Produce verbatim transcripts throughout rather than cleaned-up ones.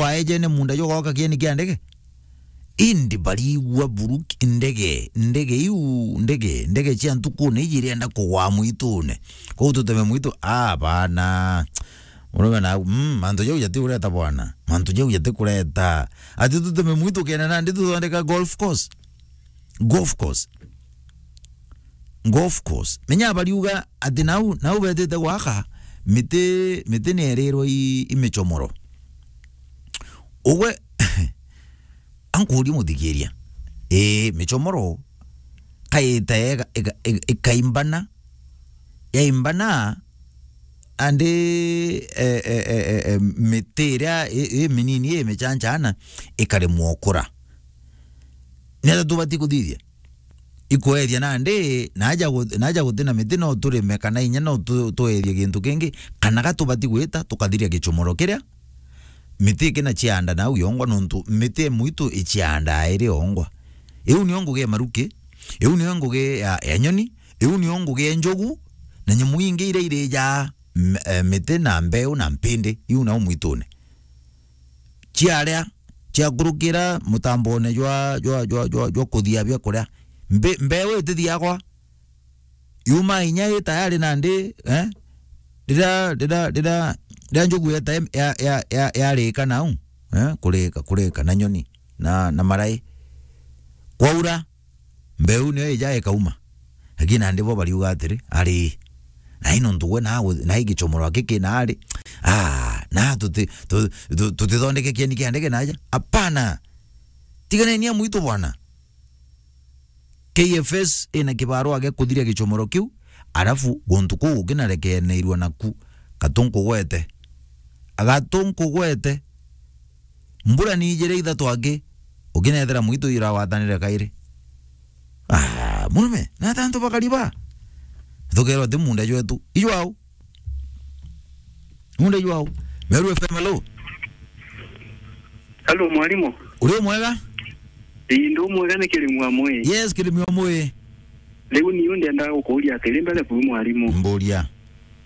kwaejene munda jwa gwaka kieni kia ndege. Indi barigua buru ki-, ndege, ndege iu, ndege, ndege cia ntukune iji irienda kugwa mwitune. Kou tuteme mwitu, ah, bana. Murume na, mm, mantu jau jati ureta bwana. Mantu jau jati kureta. Ati tuteme mwitu kena nandi tuthondeka golf course. Golf course. Golf course. Menya bariuga ati nau, nau betite gwaka miti, miti nierirwe i, i michomoro. Ugwe, ankuria muthikiria. Ii, michomoro kaita ega, ega, ega, ikaimbana, yaimbana, andi, e, e, e, e, e, miti iria i, i minini, i michanchana, ikaremwa ukura. Ni atia tubati kuthithia? Ikweethia nandi, naja gu-, naja guti na miti no turime, kana inya no tu-, tweethie gintu kingi, kana ga tubati gwita tukathiria gichomoro kiria, miti ikina chianda nau yongwa, nontu miti e mwitu ichiandaa iri yongwa. Iu niyo ngugi ya maruki, iu niyo ngugi ya, ya nyoni, iu niyo ngugi ya njogu, na nyamu ingi iria irijaa m-, e, miti na mbeu na mpindi, iu nau mwitune. Ciaria, ciakurukira mutambone jwa, jwa, jwa, jwa, jwa kuthia biakuria. Mbe-, mbeu itithiagwa. Yuma inya i tayari nandi, eh? Rira, rira, rira, rira njugu yeta em-, ya, ya, ya, yarika nau, eh? Kurika, kurika na nyoni, na, na marai. Kwaura, mbeu niyo ija ikauma. Lakini nandi bo bariuga atiri, ari, na ino ntuwe na gu-, na igichomoro aki kina ari, ah, na tuti-, tu-, tu-, tutithondeke kieni kia ndege naja. Apana. Tiganeni na mwitu bwana. K F S ina kibarua gia kuthiria gichomoro kiu, arafu guntu kuu gukinarekeneirua naku, gatu nkugwete. Gatu nkugwete. Mbura ni ijiri ithatu aki, ukinethera mwitu irawathanire kairi. Ah, murume, na atia antu bakariba? Thukerwa ti munda jwetu. Ijwao. Munda ijwao. Meru F M, hello. Hello, mwarimu. Uri umwega? Ii, ndi umwega, ni Kirimu amwe. Yes, Kirimu amwe. Riu ni ndiendaga gukuria atiri mbere buru, mwarimu. Mburia.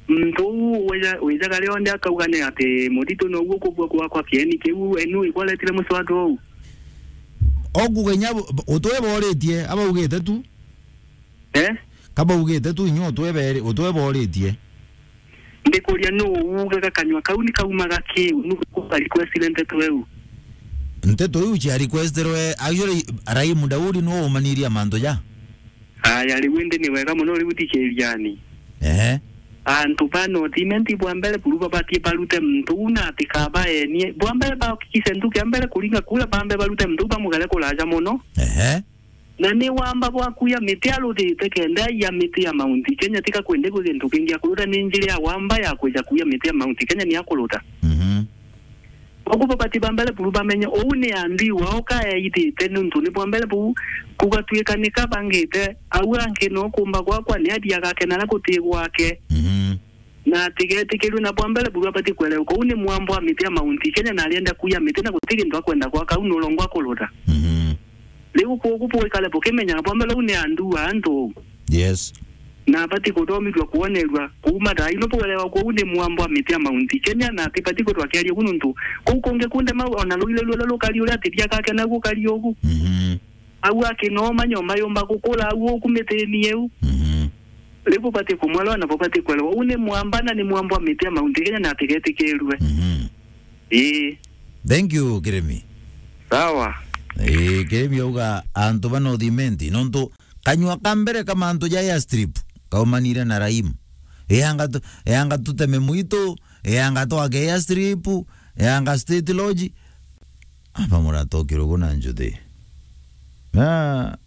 Muntu uu wija-, wijaga rionthe akauga ni ati muthitu noguo kubua gwakwa kieni kiu, enu ikwaretire muswada uu? Okuga inya bu-, utwe boritie, abaugite tu. Eh? Kabaugite tu inya utwe beri-, utwe boritie. Ndikuria nu uugaga kanyua kau ni kaumaga ki? Nu kuga requestire nteto eu? Nteto iu cia requestirwe, actually, Raimu Daudi nu umaniria mantu ja. Aya, riu indi ni wega mono, riu thikiriani. Ehe. Antu ba North Imenti bwa mbere buru babatie barute muntu uu na atikabaenie. Bwa mbere bahakikishe ntuku ya mbere kuringa kura, bambe barute muntu uu bamugere kuraja mono. Ehe. Na ni wamba bwa kuya miti aruthite kenda aiya miti ya Mount Kenya, tika kwende gwi gintu kingi akuruta, ni njira ya wamba ya kwija kuya miti ya Mount Kenya ni akuruta. Mhm. Koguo babati ba mbere buru bamenye, uu ni andui wao kaeithite, niuntu ni bwa mbere buu kugatuika ni kabangite, au anki no kumba gwakwa ni athia agakena na guti gwake. Mhm. Na atigetikirue, na bwa mbere buru abati kwerewa, uu ni mwambo wa miti ya Mount Kenya, na arienda kuya miti, na guti gintu akwenda gwaka, au ni urongo akuruta. Mhm. Riu kwogu bwikare bukimenyaga bwa mbere uu ni andui a antu. Yes. Na abati kuthomithua kwonerua kuuma thaa ino bwerewa kwogu ni mwambo wa miti ya Mount Kenya, na atibati kwithwa akiaria ugu nuntu kuu kungi kunde mau ona ruire ruria rukari uria atiria gake naguo kari ugu. Mhm. Au akinoma nyoma yumba gukura au uku mitini iu. Mhm. Riu bubati kumwelewa na bubati kwelewa. Uu ni mwamba na ni mwambo wa miti ya Mount Kenya na atigetikirue. Mhm. Ii. Thank you, Kirimi. Sawa. Ii, Kirimi auga antu ba North Imenti, nontu kanyua ka mbere ka mantu ja airstrip kaumanire na Raimu. Eanga tu-, eanga tuteme mwitu, eanga twake airstrip, eanga State Lodge. Aba muratokirwe ugu na njuthi. Ah.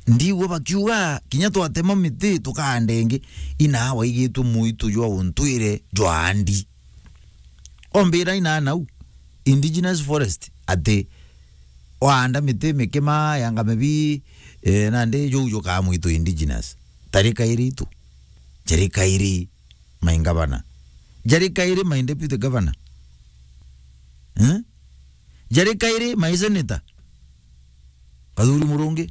Ndigua bakiuga, kinya twatema miti tukaanda ingi, inaa waigitwe mwitu jwa untwire jwa andi. Ombira inaa nau, indigenous forest, ati waanda miti mikima, yanga mibi, eh, nandi juu jukaa mwitu indigenous. Tari kairi itu. Jari kairi my governor. Jari kairi my deputy governor. Eh? Jari kairi my senator. Kathuri Murungi.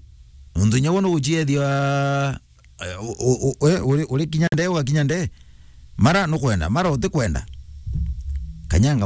Nontu inya we nuguciethia, eh, u-, u-, u-, eh, uri, uri kinya ndee, ugakinya ndee. Mara nukwenda, mara utikwenda. Kanyanga